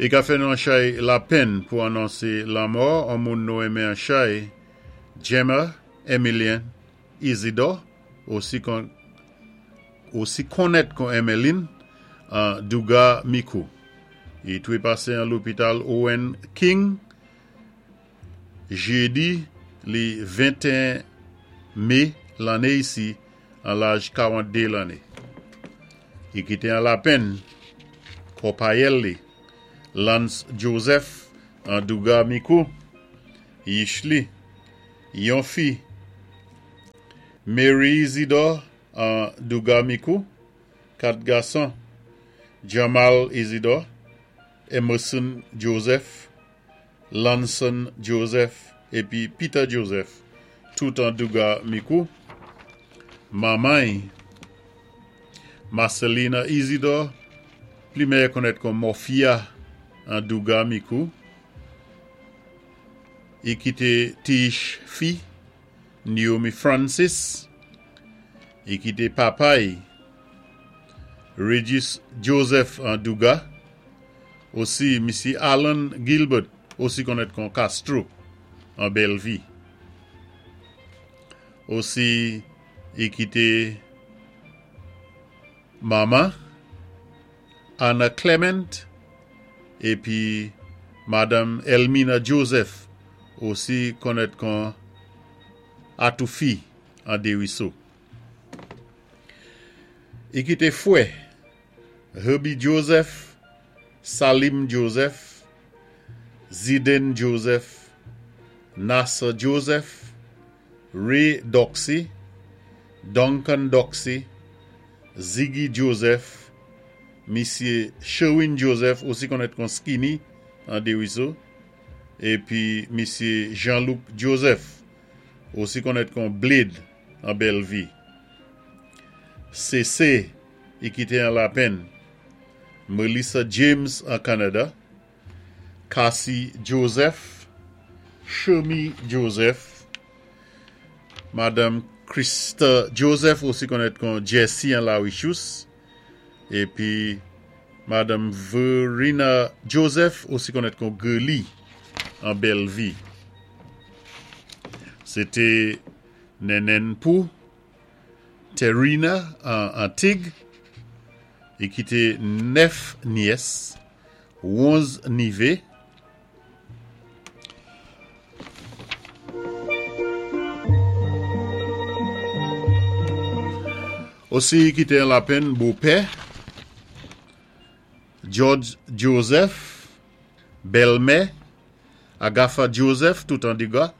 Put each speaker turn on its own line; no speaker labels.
I ka fè nou an chay lapenn pou anonsé lanmò an moun nou enmen an chay, Gemma Emilien Isidore, osi kon osi konnèt kon Emeline, an Douga Mikou. I twé pasé an lopital Owen King jédi li 21 mé lanné isi an laj 42 lanné. I kité an lapenn konpayèl li Lance Joseph an Douga Mikou, yich li, yon fi, Mary Isidore an Douga Mikou, kat gason, Jamal Isidore, Emerson Joseph, Lanson Joseph épi Peter Joseph, tout an Douga Mikou. Manman-y, Marcelina Isidore, pli mèyè konnèt kon Morphia an Douga Mikou. I kité ti-yich fi, Naomi Francis. I kité papa-y, Regis Joseph an Douga. Osi misyé Alan Gilbert, osi konnèt kon Castro an Bellevue. Osi i kité manman Anna Clement épi Madanm Elmina Joseph, osi konnèt kon Atoufi an Desruisseaux. I kité fwè Herbie Joseph, Salim Joseph, Ziden Joseph, Nasser Joseph, Ray Doxy, Duncan Doxy, Ziggy Joseph, misyé Sherwin Joseph, osi konnèt kon Skinny an Desruisseaux, épi misyé Jean-Luc Joseph, osi konnèt kon Blade an Bellevue. Sé i kité an lapenn Melissa James an Canada, Cassie Joseph, Shermy Joseph, Madanm Krista Joseph, osi konnèt kon Jessie an La Richous, épi Madanm Verena Joseph, osi konnèt kon Gurley an Bellevue. Sé té nènèn pou Terina an Antig. I kité nèf nyès, 11 nivé. Osi i kité an lapenn bopè George Joseph, bèlmè Agatha Joseph, tout an Douga.